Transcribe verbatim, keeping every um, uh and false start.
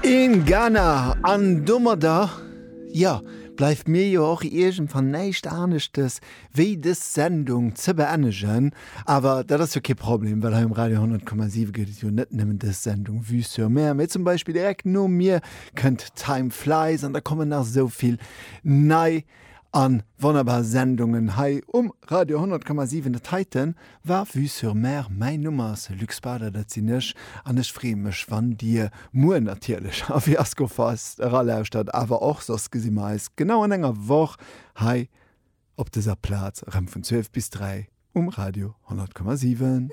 In Ghana an domadder, jo, bleift mir jo och iergendwann näischt aneschtes wéi dës Sendung ze beendegen. Awer dat ass jo kee Problem, well hei um Radio honnert Komma siwe gëtt et jo net nëmmen dës Sendung Vue sur Mer, mee zum Beispill direkt no mir kënnt Time Flies an da kommen nach esou vill nei a wonnerbar Sendungen hei um Radio honnert Komma siwen. Dat heiten war Vue sur Mer. Mäin Numm ass Luc Spader, dat sinn ech, an ech freeë mech, wann Dir muer natierlech a Fiasco Fest eralauschtert, awer och soss gesi mer eis genau an enger Woch hei op dëser Plaz erëm vun zwielef bis dräi um Radio honnert Komma siwen.